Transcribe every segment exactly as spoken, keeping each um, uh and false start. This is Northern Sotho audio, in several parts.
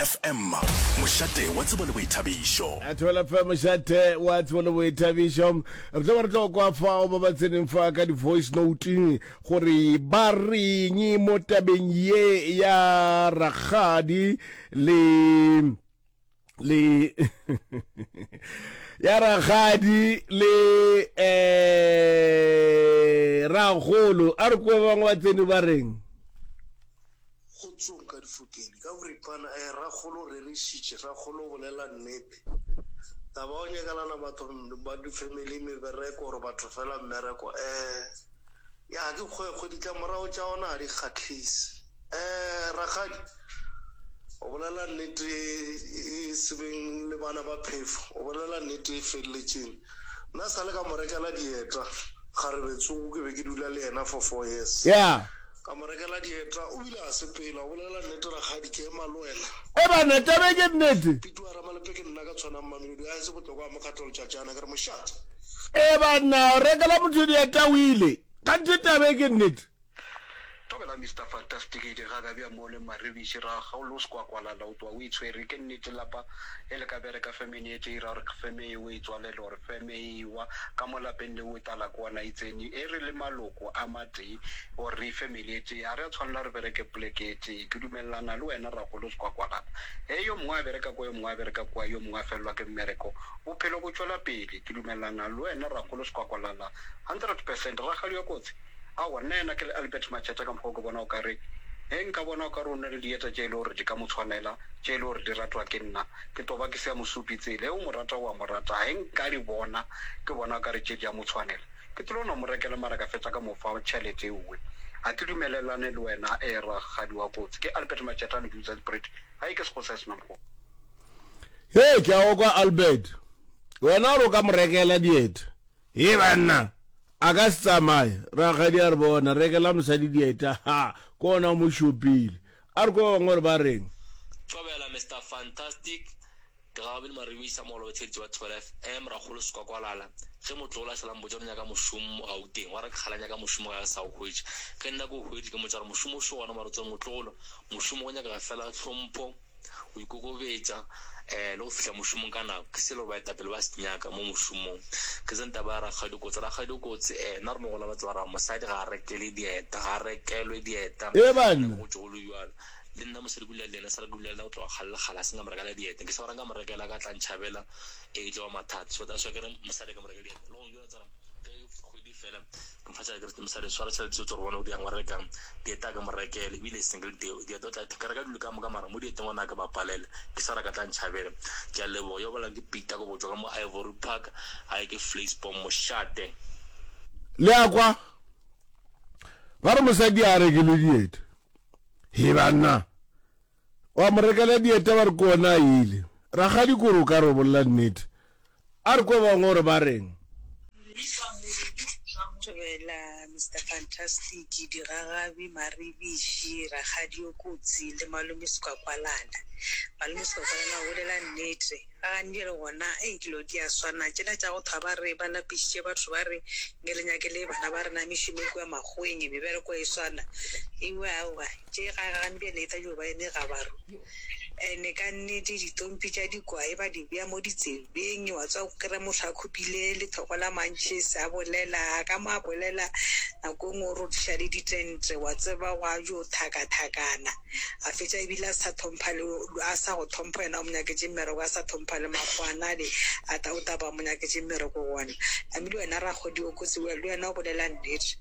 F M, mošate wa tsebo le boithabišo. Thobela F M, mošate wa tsebo le boithabišo. Re tlo ba re tlo kwa fao ba ba tseneng fa ka di-voice note gore ba reng mo tabeng ye ya rakgadi le le ya rakgadi le eh ragolo. A re kwe ba bangwe ba tsene ba reng. Kgotsong ka difokeng ka boripana. um rakgolo rerišitše, rakgolo o bolela nnete. Taba o nyakelana batho ba di-family mebereko gore batho fela mmereko, um ya ke kgwekgwe, ditlamorago tša ona ga di kgahlise. um rakgadi o bolela nnete e sebeng le bana ba phefo, o bolela nnete e feleletšeng. Nna sa le ka mo rekela dieta kgarebe tsoko, ke be ke dula le yena for four years. Ya ka mo rekela dieta, o bile a sepela. O bolela nnete rakgadi, ke ema le wena. E banna, tabe ke nnete. Pitu a Ramalepe, ke nna ka tshwanang Mamelodi a ese botlokwa a mokgatlo letšatšana ke re mošate. E banna, o rekela motho dieta o ile kganthe tabe ke nnete. Thobela Mister Fantastic, ga ka bja mo le Maribiši ra ga o sekwakwalala o twa o itshwere. Ke nnete, lapa e le ka bereka femene e tše ira gore feme e o e tswalele gore feme e wa ka mo lapeng le o e tala kwana e tsene e re le maloko a matee gore re family e tee, ga re a tshwanela re bereke poleke e tee. Ke dumelelana le wena ragolo sekwakwalala, e yo mongwe a bereka kwa, yo mongwe a bereka kwa, yo mongwe a felelwa ke mmereko, bophelo bo tšwela pele. Ke dumelelana le wena ragolo sekwakwalala hundred percent. Ragadi wa kotsi, aowa, nna yena ke le Albert Macheta ka mokgwa o ke bona o ka re ge nka bona o ka re o na le dieta tše e le gore di ka mo tshwanela, tše e le gore di ratwa ke nna, ke tlo ba ke se ya mosupi tsela e o mo rata o a mo rata. Ge nka di bona, ke bona o ka re tše di a mo tshwanela, ke tlo no mo rekela, mara ka fetša ka mo fa tšhelete ewe. Ga ke dumelelane le wena e ragadi wa kotsi. Ke Albert Macheta Leduza Spirit ga e ke sego sa senamgo. He, ke a o kwa Albert. Wena gore o ka mo rekela dieta, e banna a ka se tsamaye. Rakgadi a re bona rekela mosadi dieta, ha ke ona o mo šopile. A re ko ba bangwe gore ba reng. Thobela Mister Fantastic, Digagabedi Maribisa mogolo wa wa Thobela F M. Rakgolo Sekwakwalala, ge motlogolo a šala mpotša gore nyaka mošomo Gauteng, wa re ke kgale nyaka mošomo ga ke sa o hwetša. Ge nna ke o hweditše, ke motša gore mošomo o šo gona, mara tsere motlogolo, mošomo go nyakega fela hlompho, go ikokobetša um le go fihla mošomong ka nako. Ke selo baetapele ba se nyaka mo mošomong. Ke tsene taba ya rakgadi kotsi. Rakgadi kotsi, um nna re no gola ba tseba ra mosadi ga a rekele dieta, ga a rekelwe dieta. E banna. Go tšwe go le bjalo, le nna mosadi ke dula le yena, sa re ke dula le yena go tloga kgale le kgale, a se nka mo rekela dieta. Ke sa gore nka mo rekela ka tla ntšhabela, e tlo ba mathata. So that's why ke re mosadi ka mo rekela dieta le go jwetsa tsara ge kgwedi fela ke mo fa tšhelete, ke re mosadi, swara tšhelete tse gore bona o diang wa rekang dieta, ka mo rekele ebile single dieta. O tla ke reka dilo ka moka, mara mo dieteng ona ke ba palela, ke sa re ka tla ntšhabela. Ke a leboga. Yo bolang ke Peter ko botswa ka mo Ivory Park ga ke Vleisbom mošate. Le a kwa ba re mosadi a rekele dieta. He banna, wa mo rekela dieta ba re ke ona a ile. Rakgadi kore o ka re o bolela nnete. A re kwe bangwe gore ba reng. Thobela Mister Fantastic, Digagabi Maribiši, rakgadi o kotsi le malome Sekwakwalala. Malome Sekwakwalala o bolela nnete, ga gantši le gona ei dilo di a swana tšela tša go thwa ba re ba lapišitše batho, ba re nke re nyakele bana ba rena mešomo kua makgoweng, mebereko e swana ewe. Aowa, tše ga gantši e tla dio ba eme gabaru. Ene ka nnete ditompi tša dikwae ba di bea mo ditsebeng, wa tswa kry motho a khupile lethoko la mantšhese a bolela ka mo a bolela, nako e nngwe o rothiša le ditente, wa tseba go a jo thakathakana, a fetša ebile a sa thompha le a sa go thompha wena o mo nyaketše mmereko, a sa thompha le makgoana ale a ta o taba mo nyaketše mmereko gona. Namile wena rakgodi o kotsi, le wena o bolela nnete.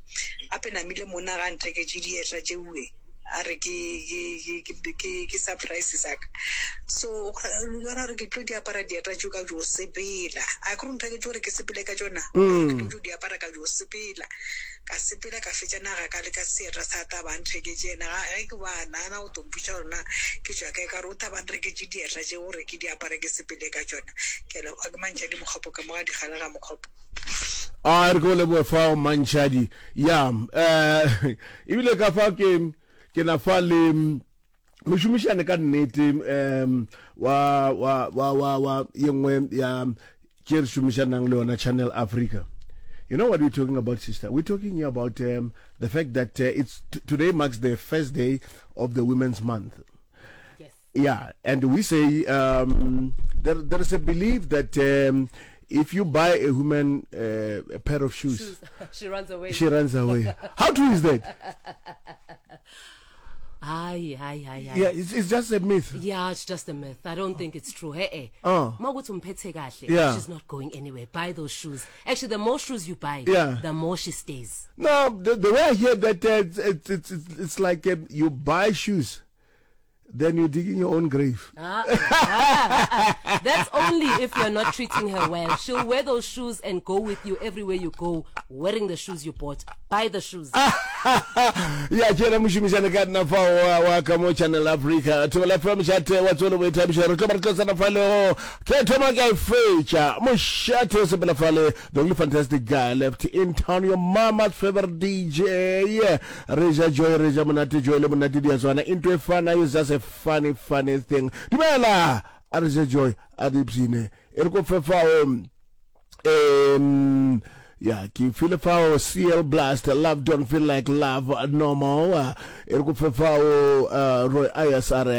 Gape namile monna ga ntheketše dieta tšeue, a re ke ke ke ke ke surprise sa ka, so yona gore ke tlo di apara dieta tšeo ka jo sepela, a ke re ntheketše gore ke sepele ka tšona, ke tlo di apara ka jo sepela. Ka sepela ka fetša naga ka le ka seeta sa taba ntheketše yena. Ge ke ba nagana go tompotša gore na ke tšwa kae, ka re o taba nreketše dieta tše gore ke di apare ke sepele ka tšona. Ke a leboga, ke Mantšhadi Mokgopo ka mo ga Digale ga Mokgopo. A re ke o leboe fao Mantšhadi. Ya um ebile ka fa ke ke na fa le mošomišane ka nnete um wa wa wa wa wa ye nngwe ya tše re šomišanang le yona, Channel Africa. You know what we're talking about, sister? We're talking here about um, the fact that uh, it's today marks the first day of the Women's Month. Yes. Yeah, and we say um, there, there is a belief that um, if you buy a woman uh, a pair of shoes, shoes. she runs away. She runs away. How true is that? Hayi, hayi, hayi, hayi. Yeah, it's, it's just a myth. Yeah, it's just a myth. I don't think it's true. Hey, hey. Oh. Makuthi umphethe kahle. Yeah. She's not going anywhere. Buy those shoes. Actually, the more shoes you buy, yeah. the more she stays. No, the, the way I hear that, uh, it's, it's, it's, it's like um, you buy shoes then you're digging your own grave. Ah, ah, ah, That's only if you're not treating her well. She'll wear those shoes and go with you everywhere you go, wearing the shoes you bought. Buy the shoes. ya ke yena mošomišane ka nna fa wa wa ka mo Channel Africa Thobela F M mošate wa tswelo boithabišo re tlo ba re tlo tsena fale go ke thoma ka e fetša mošate o sepela fale the only fantastic guy left in town your mama's favorite D J re ja joy re ja monate joy le monate di a tswana into e fana is just a funny funny thing dumela a re je joy a di psine e re ko fefao um ya ke file fao C L Blast love don't feel like love no more e re ko fefao uh, Roy Ayers a re